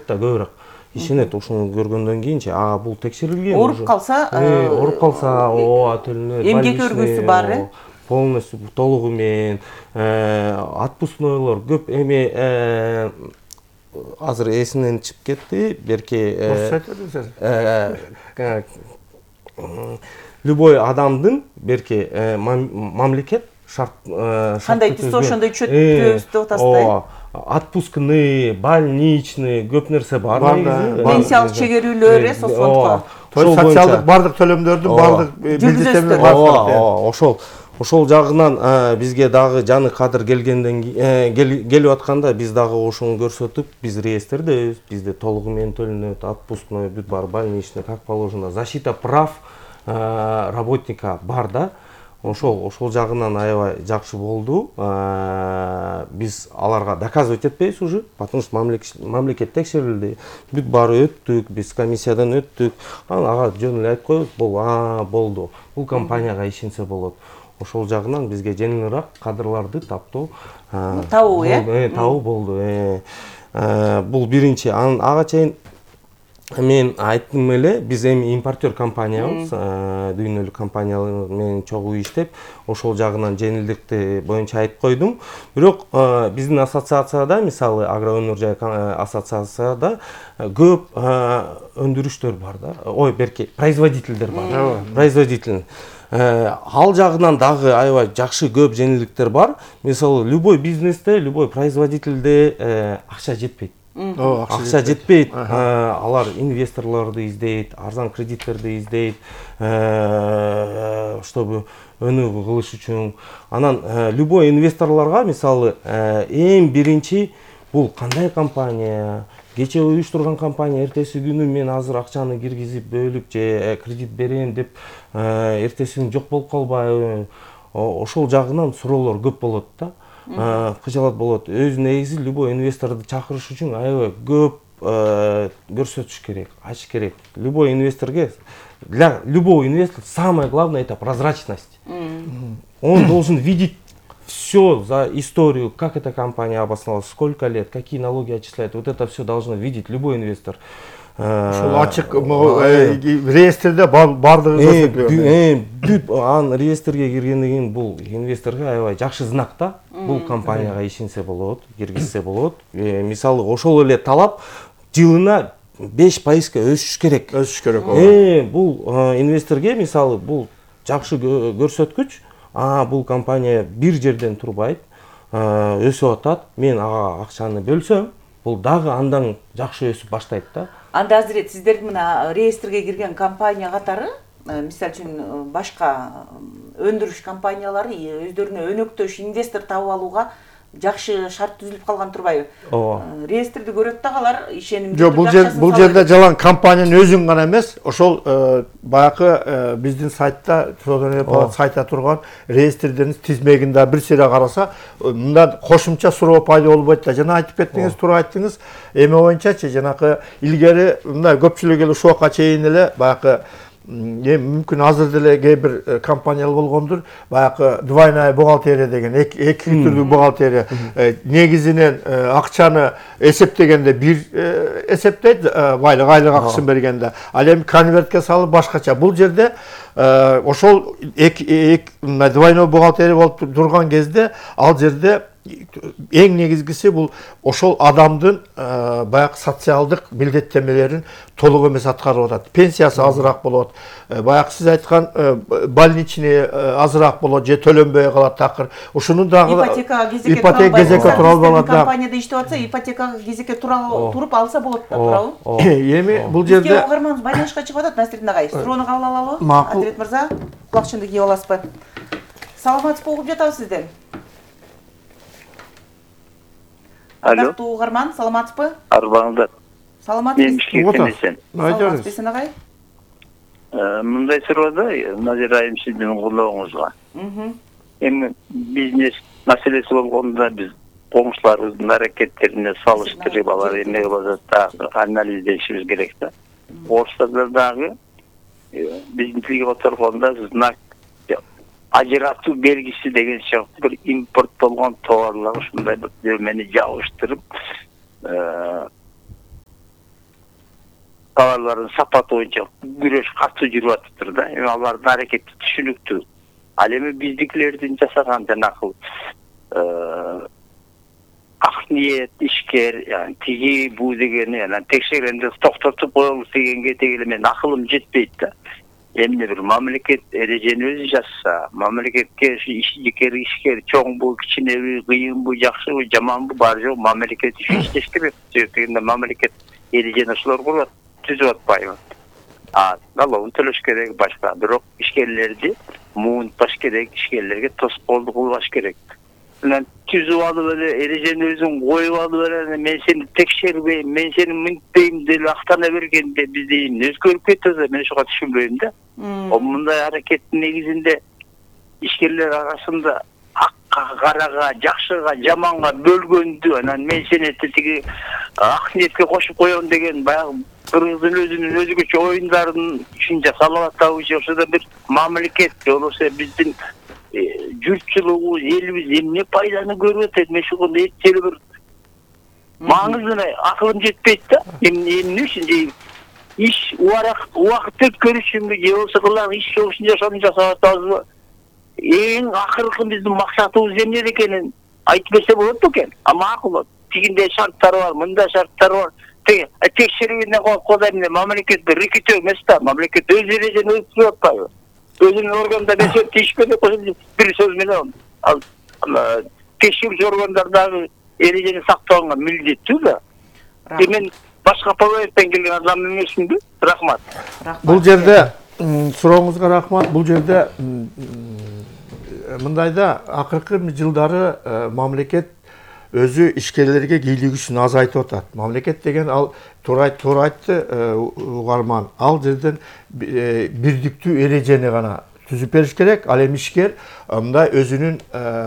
да көбүрөөк. Ишенет, ошону көргөндөн кийинчи, бул текшерилген. Ооруп калса, төлөнөт. Эмгек өргүсү бар, полностью толугу менен, отпускнойлор көп эми азыр эсинен чыгып кетти, берки любой адамдын берки мамлекет шарт кандай түзсө ошондой чөтүбүз деп атасыздар. Отпускный, больничный, көп нерсе бар. Пенсиялык чегерүүлөр, соцфондго. Социалдык бардык төлөмдөрдүн бардык милдеттери бар. Ошол жагынан бизге дагы жаны кадыр келгенден келип атканда биз дагы ошону көрсөтүп, биз реестрдебиз, бизде толугу менен төлөнөт, отпускной, бүт бар, больничный, как положено, защита прав работника бар да. Ошол жагынан аябай жакшы болду. Биз аларга доказывать этпейбиз уже, потому что мамлекет текшерилди. Бүт баары өттүк, биз комиссиядан өттүк. Ага жөн эле айтып коебуз, болду. Бул компанияга ишенсе болот. Ошол жагынан бизге жеңилирээк кадрларды табуу болду. Бул биринчи. Ага чейин мен айттым эле, биз эми импортер компаниябыз, дүйнөлүк компаниялар менен чогуу иштеп, ошол жагынан жеңилдикти боюнча айтып койдум. Бирок биздин ассоциацияда, мисалы Агро өнөр жай ассоциацияда көп өндүрүштөр бар да. Берки производительдер бар. Производитель. Ал жагынан дагы аябай жакшы көп жеңилдиктер бар. Мисалы любой бизнесте, любой производительде акча жетпейт. Акча жетпейт. Алар инвесторлорду издейт, арзан кредиттерди издейт, чтобы өнүгүү кылыш үчүн. Анан любой инвесторлорго мисалы эң биринчи бул кандай компания, кече уюштурган компания, эртеси күнү мен азыр акчаны киргизип бөлүп же кредит берем деп эртеси күнү жок болуп калбайбы? Ошол жагынан суроолор көп болот да. Кыжалат болот. Өз негизи любой инвесторду чакырыш үчүн аябай көп көрсөтүш керек, ачыш керек. Любой инвесторге, для любого инвестора самое главное это прозрачность. Он должен видеть все за историю, как эта компания обосновалась, сколько лет, какие налоги отчисляет. Вот это все должен видеть любой инвестор. Ошол ачык реестрде бардыгы бүт реестрге киргенден кийин бул инвесторго аябай жакшы знак да. Бул компанияга ишенсе болот, киргизсе болот. Мисалы ошол эле талап жылына 5% өсүш керек. Бул инвесторге мисалы бул жакшы көрсөткүч. Бул компания бир жерден турбайт, өсүп атат. Мен ага акчаны бөлсөм, бул дагы андан жакшы өсүп баштайт да. Анда азырет сиздер мына реестрге кирген компания катары, мисалы үчүн башка өндүрүш компаниялары өздөрүнө өнөктөш инвестор таап алууга жакшы шарт түзүлүп калган турбайбы? Ооба. Реестрди көрөт дагы алар ишенимдүү. Жок, бул жерде жалаң компаниянын өзүн гана эмес, ошол баягы биздин сайтта, Трудовой палата сайтта турган реестрдин тизмегин да бир сыйра караса, мында кошумча суроо пайда болбойт да. Жана айтып кеттиңиз, туура айттыңыз. Эме боюнчачы, жанакы илгери мындай көпчүлүк эле ушуга чейин эле баягы мүмкүн азыр деле кээ бир компаниялар болгондур, баягы двойная бухгалтерия деген эки түрдүү бухгалтерия негизинен акчаны эсептегенде бир эсептейт, айлык акчасын бергенде, ал эми конвертке салып башкача. Бул жерде ошол двойной бухгалтерия болуп турган кезде ал жерде эң негизгиси бул ошол адамдын баягы социалдык милдеттенмелерин толук эмес аткарып атат. Пенсиясы азыраак болот. Баягы сиз айткан больничный азыраак болот же төлөнбөй калат такыр. Ушунун дагы ипотека кезекке тура албаган компанияда иштеп атса, ипотекага кезекке туруп алса болот да, туурабы? Эми бул жерде бизге угарманыбыз байланышка чыгып атат, Насирдин агай. Суроону кабыл алалыбы? Азирет мырза, кулакчынды кийип аласызбы? Саламатсызбы, угуп жатабыз сизден. Ардактуу угарман, саламатсызбы? Арбаңыздар. Саламатсызбы? Саламатсызбы сен агай? Мындай суроодо Назира айым сиздин колдооңузга. Эми бизнес маселеси болгондо биз коңшуларыбыздын аракеттерине салыштырып алар эмне кылып атат анализдешибиз керек да. Орустарда дагы биздин тилге которгондо знак ажыратуу белгиси деген сыяктуу бир импорт болгон товарлар ушундай бир нермени жабыштырып товарлардын сапаты боюнча күрөш катуу жүрүп атыптыр да. Эми алардын аракети түшүнүктүү. Ал эми биздикилердин жасаган жанакы ак ниет ишкер, тиги буу дегени текшергенде токтотуп коелуш дегенге теги мен акылым жетпейт да. Эмне бир мамлекет эрежени өзү жазса, мамлекетке ишкер, чоңбу, кичинеби, кыйынбы, жакшыбы, жаманбы, бар жок мамлекет иштеш керек. Себеби мамлекет эрежени ошолор курат, түзүп атпайбы. Налогун төлөш керек башка, бирок ишкерлерди муунтпаш керек, ишкерлерге тоскоолдук кылбаш керек. Мына түзүп алып эле эрежени өзүң коюп алып эле мен сени текшербейм, мен сени мынтпейм деп актана бергенде бизде өзгөрүп кетет, мен ошого түшүнбөйм да. Мындай аракеттин негизинде ишкерлер арасында акка, карага, жакшыга, жаманга бөлгөндү, анан мен сени тиги ак ниетке кошуп коем деген баягы кыргыздын өзүнүн өзгөчө оюндарын үчүн жасалып атабы, ошо да бир мамлекет, болбосо биздин журтчулугу, элибиз эмне пайданы көрүп атат, мен ошондо эчтеке бир маңыздуу акылым жетпейт да. Эмне үчүн иш убакыт өткөрүш үчүнбү же болбосо кылган иш болушун ошону жасап атабызбы? Эң акыркы биздин максатыбыз эмне экенин айтып берсе болот бекен. Макул, тигиндей шарттар бар, мындай шарттар бар. Текшерүүнү коюп коюп мамлекет бир рекетөө эмес да, мамлекет өз эрежени өзү түзүп атпайбы? Өзүнүн органда ишпеде бир сөз менен ал текшерүүчү органдар дагы эрежени сактаганга милдеттүү да. Мен башка проекттен келген адам эмесминби? Рахмат. Бул жерде сурооңузга рахмат. Бул жерде мындайда акыркы жылдары мамлекет өзү ишкерлерге кийлигишин азайтып атат. Мамлекет деген ал туура айтты угарман. Ал жерден бирдиктүү эрежени гана түзүп бериш керек. Ал эми ишкер мындай өзүнүн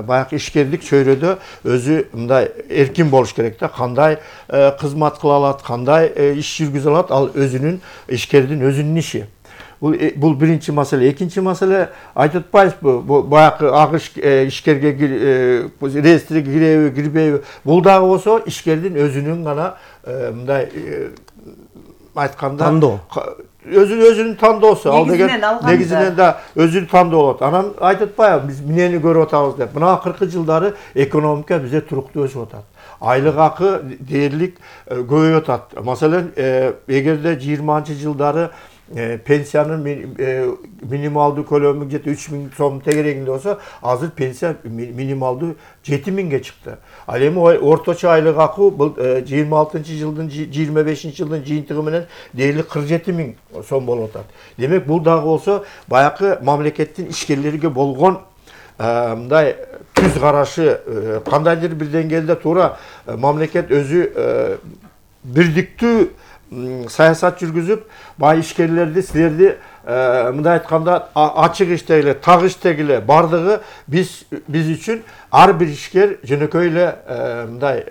баягы ишкерлик чөйрөдө өзү мындай эркин болуш керек да. Кандай кызмат кыла алат, кандай иш жүргүзө алат, ал өзүнүн ишкердин өзүнүн иши. Бул биринчи маселе. Экинчи маселе айтып атпайбызбы, баягы ак ишкерге реестриге киреби, кирбейби? Бул дагы болсо ишкердин өзүнүн гана мындай айтканда тандоо. Өзүнүн тандоосу. Ал деген негизинен да өзүнүн тандоо болот. Анан айтып атпайбы, биз эмнени көрүп атабыз деп. Мына акыркы жылдары экономика бизде туруктуу өсүп атат. Айлык акы дээрлик көбөйүп атат. Маселен, эгерде 20-жылдары пенсиянын минималдуу көлөмү где-то 3000 сом тегерегинде болсо, азыр пенсия минималдуу 7000ге чыкты. Ал эми орточо айлык акы бул 26-жылдын 25-жылдын жыйынтыгы менен дээрлик 47 000 сом болуп атат. Демек бул дагы болсо баягы мамлекеттин ишкерлерге болгон мындай түз карашы кандайдыр бир деңгээлде туура мамлекет өзү бирдиктүү саясат жүргүзүп, бай ишкерлерди, силерди мындай айтканда ачык иштегиле, так иштегиле бардыгы биз үчүн ар бир ишкер жөнөкөй эле мындай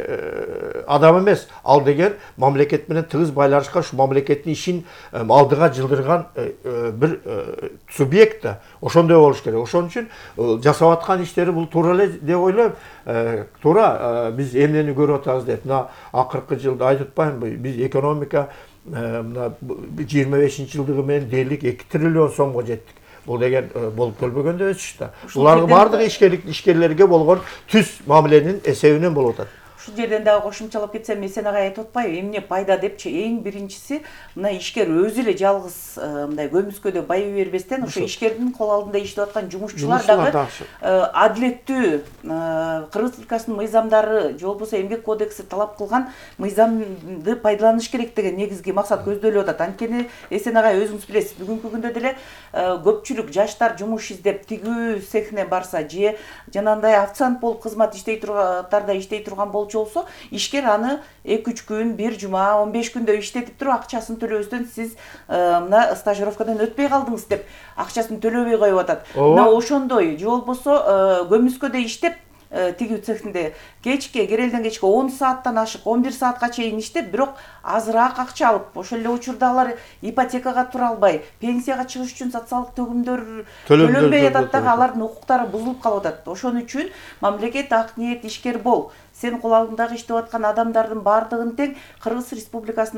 адам эмес, ал деген мамлекет менен тыгыз байланышкан, ушу мамлекеттин ишин алдыга жылдырган бир субъект да. Ошондой болуш керек. Ошон үчүн жасап аткан иштери бул туура эле деп ойлойм. Туура биз эмнени көрүп атабыз деп, мына акыркы жылда айтып атпаймынбы, биз экономика мына 25-жылдыгы менен дээрлик 2 триллион сомго жеттик. Бул деген болуп келбөгөн да өсүш да. Булардын бардыгы ишкерлерге болгон түз мамиленин эсебинен болуп атат. Ушул жерден дагы кошумчалап кетсем, Эсен агай айтып атпайбы, эмне пайда депчи, эң биринчиси мына ишкер өзү эле жалгыз мындай көмүскөдө байый бербестен, ошо ишкердин кол алдында иштеп аткан жумушчулар дагы адилеттүү Кыргыз Республикасынын мыйзамдары же болбосо эмгек кодекси талап кылган мыйзамды пайдаланыш керек деген негизги максат көздөлүп атат. Анткени Эсен агай өзүңүз билесиз, бүгүнкү күндө деле көпчүлүк жаштар жумуш издеп тигүү цехине барса же жанагындай официант болуп кызмат иштей турган болчу болсо, ишкер аны 2-3 күн, 1 жума, 15 күндө иштетип туруп акчасын төлөбөстөн сиз мына стажировкадан өтпөй калдыңыз деп акчасын төлөбөй коюп атат. Мына ошондой же болбосо көмүскөдө иштеп тигүү цехинде кечке, керелден кечке 10 сааттан ашык 11 саатка чейин иштеп, бирок азыраак акча алып, ошол эле учурда алар ипотекага тура албай, пенсияга чыгыш үчүн социалдык төлөнбөй атат дагы, алардын укуктары бузулуп калып атат. Ошон үчүн мамлекет ак ниет ишкер бол, сен кол алдындагы иштеп аткан адамдардын бардыгын тең Кыргыз Республикасынын